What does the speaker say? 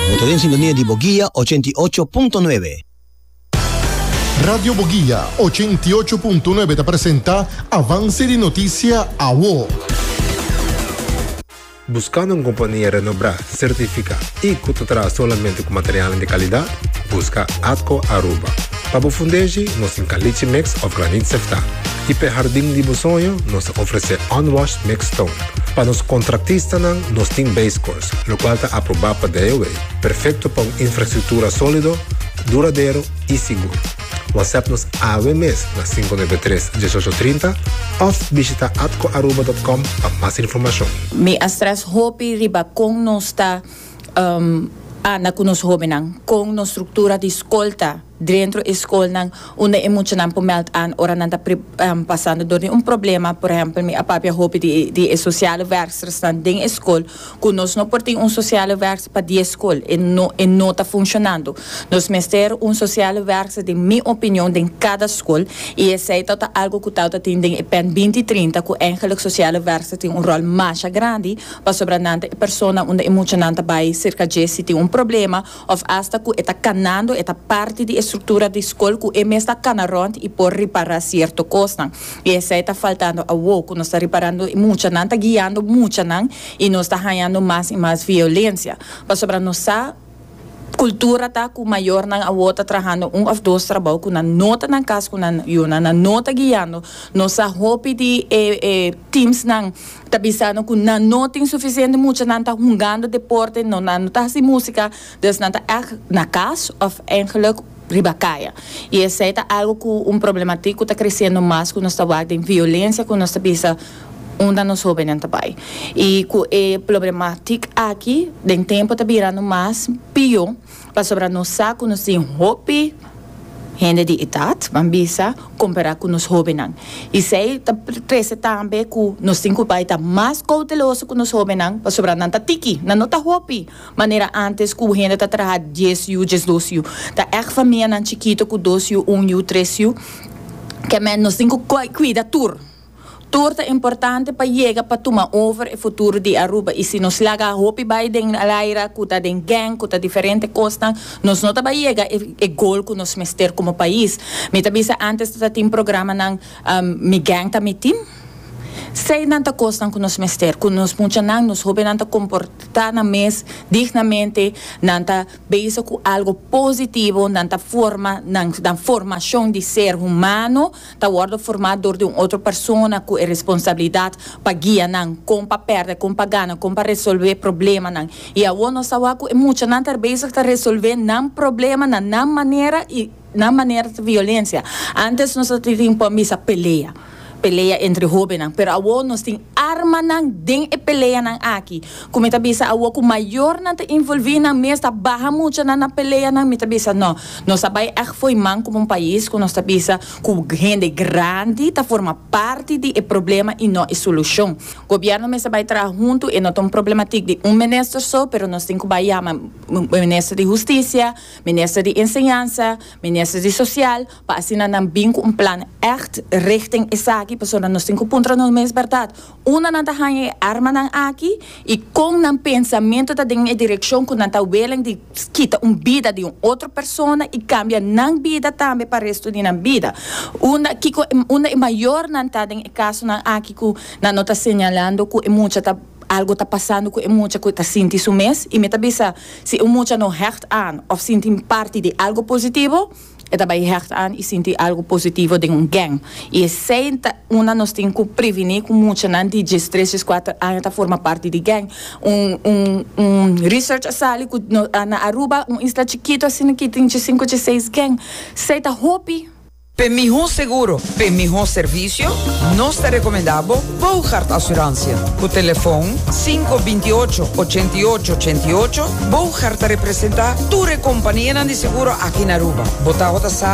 Bo ta den sintonia di Boguia 88.9. Radio Boguia 88.9 ta presenta Avance di Noticia Awo. Buscando un compania renobrá, certificá y cu ta traha solamente cu materialnan di calidad? Busca Atco Aruba. Pa bo fundeshi, nos tin caliche mix of granit seftá. Y p'e hardin di bo soño, nos ta ofrece unwashed mixed stone. Pa nos contractistanan, nos tin base course, locual ta aprobá pa DOW, perfecto pa un infrastructura solido, duradero y sigur. WhatsApp nos awe mes na 593 1830 of bishita atcoaruba.com pa mas informacion. Mi a stress hopi riba con nos ta anda cu nos hobennan, con nos structura di scol ta dentro e scolnan unda e muchanan por meld aan ora nan ta pasando door di un problema. Por ehempel mi a papia hopi di e sociale werkstersnan den e scol. Ku nos no por tin un sociale werkster pa dies skol, e no e no ta funshonando. Nos mester un sociale werkster den mi opinion den kada skol i esei ta ta algo ku tawata tin den e pen binti 30 ku eigenlijk sociale werkster tin un ròl masha grandi pasobra nan ta e persona unda e muchanan ta bai serka dje si tin un problema òf asta ku e ta kanando e ta parti di e struktura di skol ku e mes ta kana rònt i por ripará sierto kosnan. I esei ta faltando awo, ku nos ta riparando e muchanan ta guiando muchanan i nos ta hañando mas i mas violensia. Pasobra nos sa kultura ta ku mayornan awo ta trahando un òf dos trabou ku nan no ta na kas ku nan yunan, nan no ta guiando. Nos sa hopi di e e teamsnan ta bisando ku nan no tin sufisiente muchanan ta hungando deporte, no nan no ta hasi musika, dus nan ta ègt na kas òf eigenlijk riba kaya. I esei ta algu ku un problematik ku ta kresiendo mas ku nos ta wak den violensia ku nos ta bisa unda nos hobennan ta bai. I ku e problematik aki den tempu ta birando mas pió pasobra nos sa ku nos tin hopi hende di edat, ban bisa, kompará ku nos hobennan. I esei ta trese tambe ku nos tin ku bai ta mas kouteloso ku nos hobennan pasobra nan ta tiki, nan no ta hopi. Manera antes ku hende ta traha dies yu, diesdos yu. Ta ègt famianan chikito ku dos yu, un yu, tres yu. Ke men nos tin ku kuida tur. Tur ta importante pa yega pa tuma over e futuro di Aruba. I si nos laga hopi bai den laira ku ta den gang, ku ta diferente kosnan, nos no ta bai yega e goal ku nos mester komo pais. Mi ta bisa antes ta tin programanan Mi gang ta mi team. Seinan ta kosnan ku nos mester, ku nos muchanan, nos hobennan ta komportá nan mes dignamente, nan ta bezig ku algo positivo, nan ta forma nan nan formashon di ser humano ta wòrdu formá dor di un otro persona ku e responsabilidat pa guia nan kon pa pèrdè, kon pa gana, kon pa resolvé problemanan. I awor nos ta wak ku e muchanan ta bezig ta resolvé nan problema na nan manera i nan manera ta violensia. Antes nos ta tin por misa pelea. Pelea entre hobennan, pero awor nos tin armanan den e peleanan aki. Ku mi ta bisa awor ku mayornan ta involví nan mes, ta baha muchanan na peleanan, mi ta bisa no. Nos a bai ègt fo'i man komo un pais ku nos ta bisa ku hende grandi ta forma parti di e problema i no e solushon. Gobièrnu mester bai traha huntu, e no ta un problematik di un minister so, pero nos tin ku bai yama minister di hustisia, minister di enseñansa, minister di sosial, Pa asina nan bin ku un plan ègt richting esaki, pasobra nos tin ku puntra nos mes bèrdat, unda nan ta haña e armanan aki i kon nan pensamentu ta den e direkshon ku nan ta willing di kita un bida di un otro persona i kambia nan bida tambe pa restu di nan bida. Unda kiko unda e mayornan ta den e kasonan aki ku nan no ta señalando ku e mucha ta algo ta pasando ku e mucha ku ta sinti su mes i mi ta bisa si un mucha no hègt aan òf sinti parti di algo positivo, E ta bai hecht aan i sinti algu positivo den un gang. I esei ta unda nos tin ku prevení ku muchanan di diestres, dieskuater aña ta forma parti di gang. Un un un research a sali ku na Aruba, un isla chikitu asina ki tin diesinku, dieseis gang. Esei ta hopi. P'e mihó seguro, p'e mihó servisio, nos ta rekomendá bo Boogaard Assurantie. Ku telefon 528 88 88, Boogaard ta representá tur e kompanianan di seguro aki na Aruba. Bo tabata sa?